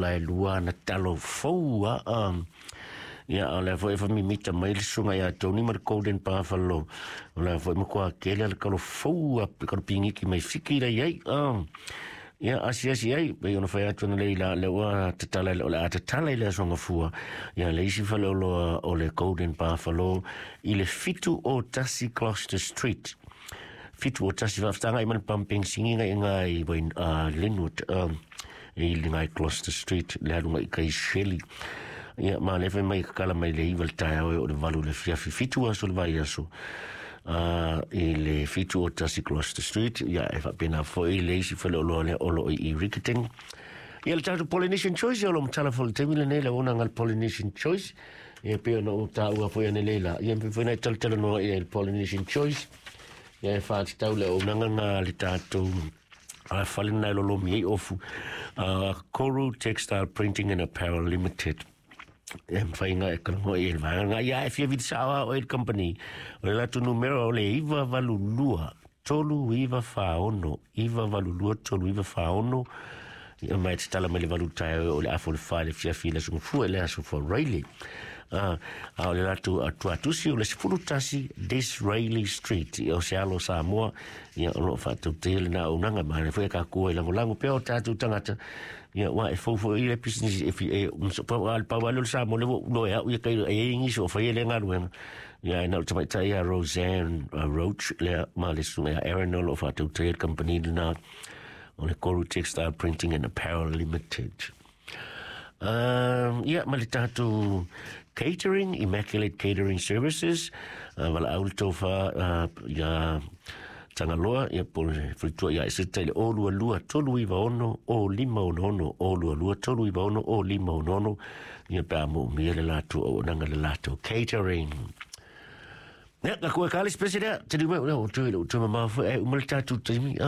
La e lua ana talo fou a ia o le foi fa mimita mai le susuga ia Tony ma le Golden Buffalo. O le foi matua tele le talo fou a kalo pingiki mai Fiki la iai. Ia asiasi ai pei ona fai atu ana lei la le ua tatala o le a tatala i le aso gafua ia le isi faleoloa o le Golden Buffalo i le 71 Gloucester Street. 71 faafetaga i ma le pumping singiga i ngai Linwood i le ngai Gloucester Street le aluga i kai Shelley. Ia ma le fai mai kakala mai le 9 le taeao e o le 8 le afiafi 7 aso le vaiaso i le 71 Gloucester Street. Ia e faapena foi le isi faleoloa lea o lo o i Riccarton. Ia le tatou Polynesian Choice o lo matala foi le taimi lenei le ona ngal Polynesian Choice. Ia pe ona o tāua foi ane leila. Ia mpe foi nai talanoa ia le Polynesian Choice. Ia e whātatau le o nanga ngā le tātou a fale nai lolo mi ei ofu Koru Textile Printing and Apparel Limited. E mwhai e kalango e le vanga ngā ia e fia vita sawa o e le company. O le latu numero o le 982 3946 982 3946. Ia mai te tala mai le valu tae o le afo le whae le fiafi le sunga fua le aso fua Riley. A o le latu a tuatusi o le 11 Disraeli Street i o se alo Samoa. Ia o lo whātau te hele nā unanga ma le fue ka kua i lango lango pea o tātou tangata. Ia wa e fau i le business e fi e pa al pa walo Samoa le no e au ia kai e ingi so whai le ngaluenga. Ia e nau tamai tai a Roseanne Roach le ma le sunga Aaron o lo whātau te hele company nā o le Koru Textile Printing and Apparel Limited. Ia, ma le tātou catering, Immaculate Catering Services, wala au le taufa ia Tangaloa, ia po le falitua ia eseta i le o lua lua tolu iwa ono, o lima ono ono, o lua lua tolu iwa ono, o lima ono ono, ia pe a mo umia le lātou au nanga le lātou catering. Ia, ka kua kale spesi lea, te liu mai, o tui, o tui mamā fue, e umale tātou taimi,